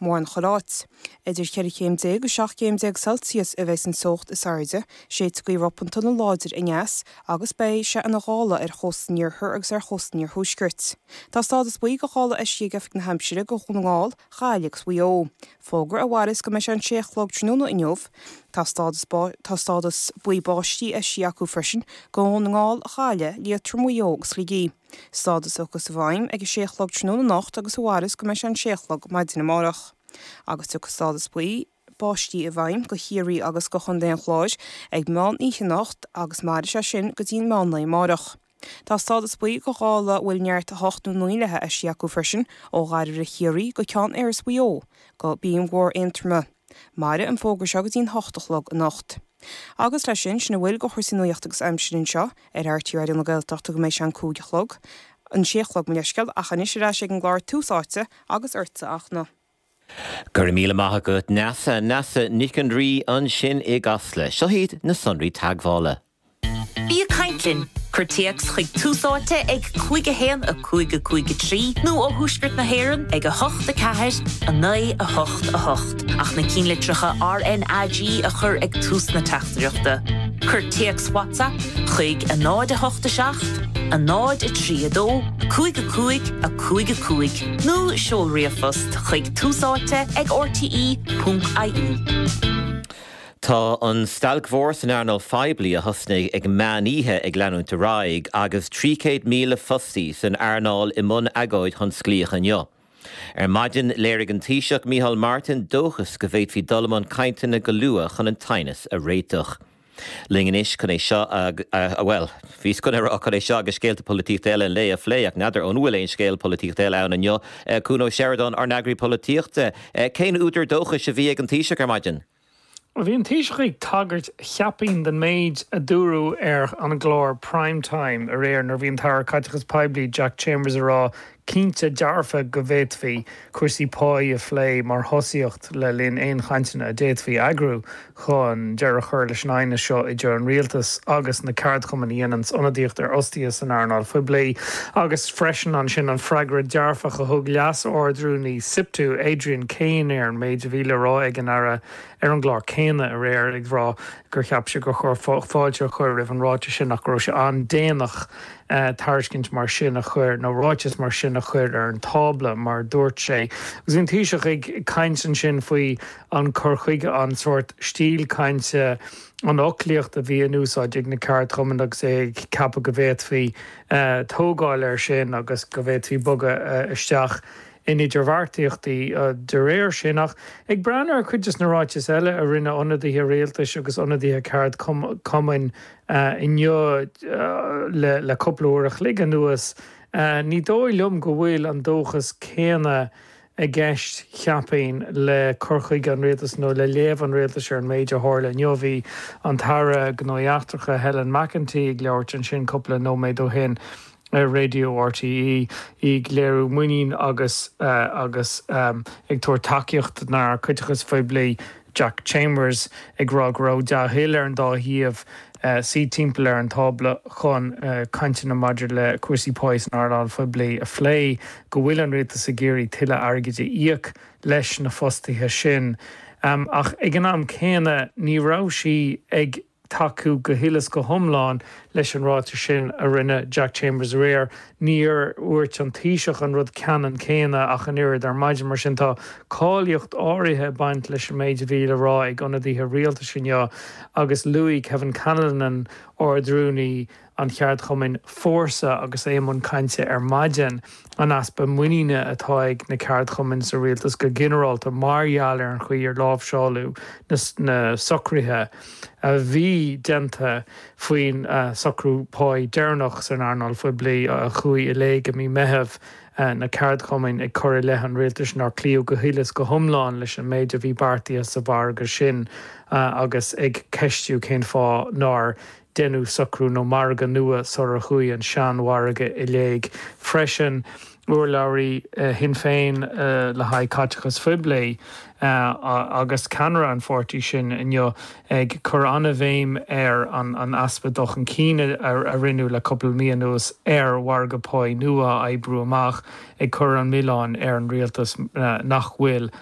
Mórán chuile áit. Idir 14 chéim agus 17 chéim Celsius a bheidh an teocht is airde, séidfidh gaoth ropanta nó láidir aneas agus beidh sé ina ghála ar chósta an iarthair agus ar chósta an iarthuaiscirt. Tá stádas buí de ghála eisithe ag Oifig na hAimsire do Dhún na nGall, Gaillimh agus Mhaigh Eo. Fógra a mhairfeas go mbeidh sé an sé a chlog tráthnóna inniu. Tá stádas tá stádas buí báistí eisithe acu freisin do Dhún na nGall, Gaillimh, Liatroim, Mhaigh Eo agus Shligigh. Stádas a thiocfas i bhfeidhm ag a sé a chlog tráthnóna anocht agus a mhairfeas go mbeidh sé an sé a chlog maidin amárach. Agus tiocfaidh stádas buí báistí i bhfeidhm do Chiarraí agus do Chontae an Chláir ag meán oíche anocht agus mairfidh sé sin go dtí an meán lae amárach. Tá stádas buí de ghála a bhfuil neart 8 nó 9 léi eisithe acu freisin ó Ghairbhre Chiarraí go Ceann Iorrais Mhaigh Eo go Binn Mhór Aontroma. Mairfidh an fógra seo go dtí an 8 a chlog anocht. Agus leis sin, sin a bhfuil de chúrsaí nuachta agus aimsire anseo ar RTÉ Raidió na Gaeltachta go mbeidh sé an 5 a chlog, an 6 a chlog mo leithscéal, ach anois ar ais ag an gclár Tús Áite agus ortsa a Fhachtna. Go raibh míle maith agat Neasa. Neasa Nic an Rí ansin i gCasla. Seo iad na sonraí teagmhála. Bí ag caint linn! Cuir téacs chuig Tús Áite ag 5 1 5 5 3 nó ó Thuaisceart na hÉireann ag 8 4 9 8 8 ach na cinnlitreacha RnaG a chur ag tús na teachtaireachta. Cuir téacs WhatsApp chuig 0 8 7 0 3 2 5 5 5 5 nó seol ríomhphost chuig túsáite ag rte.ie. Tá an stailc mhór san earnáil phoiblí a thosnaigh ag meán oíche ag leanúint ar aghaidh agus 300,000 fostaí san earnáil i mbun agóid thionsclaíoch inniu. Ar maidin léirigh an Taoiseach Micheál Martin dóchas go bhféadfaí dul i mbun cainteanna go luath chun an t-aighneas a réiteach. Linn anois chun é seo a, bhuel, bhíos chun a rá chun é seo agus scéalta polaitíochta eile an lae a phlé ach n'fheadar an bhfuil aon scéal polaitíochta eile ann inniu. Cuan Ó Seireadáin, ár n-eagraí polaitíochta, cén údar dóchais a bhí ag an Taoiseach ar maidin? Bhí an Taoiseach ag tagairt, cheapfainn, don méid a dúradh ar an gclár Prime Time aréir nuair a bhí an tAire Caiteachais Poiblí Jack Chambers ag rá cinnte dearfa go bhféadfaí cúrsaí páí a phlé mar thosaíocht le linn aon chainteanna a d'fhéadfaí eagrú chun deireadh a chur leis an aighneas seo idir an rialtas agus na ceardchumainn a dhéananns ionadaíocht ar fhostaithe san earnáil phoiblí agus freisin ansin an freagra dearfach a thug Leas-Ardrúnaí Siptu, Adrian Cain ar an méid a bhí le rá ag an Aire ar an gclár céanna aréir ag rá gur cheap sé gur chóir fáilte a chur roimh an ráiteas sin ach go raibh sé an-déanach tairiscint mar sin a chur nó ráiteas mar sin a chur ar an tábla mar a dúirt sé. Agus bhí an Taoiseach ag caint ansin faoi an cur chuige, an sórt stíl cainte, an fhoclaíocht a bhí in úsáid ag na ceardchumainn agus é ag ceapadh go bhféadfaí tógáil air sin agus go bhféadfaí bogadh isteach in idirbheartaíochtaí de réir sin. Ach ag breathnú ar chuid de na ráitis eile a rinne ionadaithe rialtais agus ionadaithe ceardchumainn inniu le cúpla uair a chloig anuas, ní dóigh liom go bhfuil an dóchas céanna i gceist, cheapfainn, le cur chuige an rialtais nó le léamh an rialtais ar an méid a tharla inniu. Bhí an tAire Gnóthaí Eachtracha Helen McEntee ag labhairt ansin cúpla nóiméad ó shin ar Raidió RTÉ, í ag léiriú muinín agus agus ag tabhairt tacaíocht don Aire Caiteachais Phoiblí Jack Chambers, ag rá go raibh dea-thoil ar an dá thaobh suí timpeall ar an tábla chun cainteanna maidir le cúrsaí páí san earnáil phoiblí a phlé, go bhfuil an rialtas ag iarraidh tuilleadh airgid a íoc leis na fostaithe sin. Ach ag an am céanna ní raibh sí ag tacú go huile is go hiomlán leis an ráiteas sin a rinne Jack Chambers aréir. Níor dhúirt an Taoiseach an rud ceannann céanna ach an oiread ar maidin. Mar sin tá cáilíocht áirithe ag baint leis an méid a bhí le rá ag ionadaithe rialtais inniu agus luaigh Kevin Callinan, Ard-Rúnaí an cheardchumainn Fórsa agus é i mbun cainte ar maidin, an easpa muiníne atá ag na ceardchumainn sa rialtas go ginearálta mar gheall ar an chaoi ar láimhseáladh na socruithe a bhí déanta faoin socrú páí deireanach san earnáil phoiblí a chuaigh i léig i mí Meitheamh, na ceardchumainn ag cur i leith an rialtais nár cloíodh go huile is go hiomlán leis an méid a bhí beartaithe sa mhargadh sin agus ag ceistiú cén fáth nár deineadh socrú nó margadh nua sular chuaigh an seanmhargadh i léig freisin. Urlabhraí Shinn Féin le haghaidh caiteachais phoiblí agus ceannaire an pháirtí sin inniu ag cur an-bhéim ar an easpa dul chun cinn a rinneadh le cúpla mí anuas ar mhargadh páí nua a oibriú amach, ag cur an milleán ar an rialtas nach bhfuil.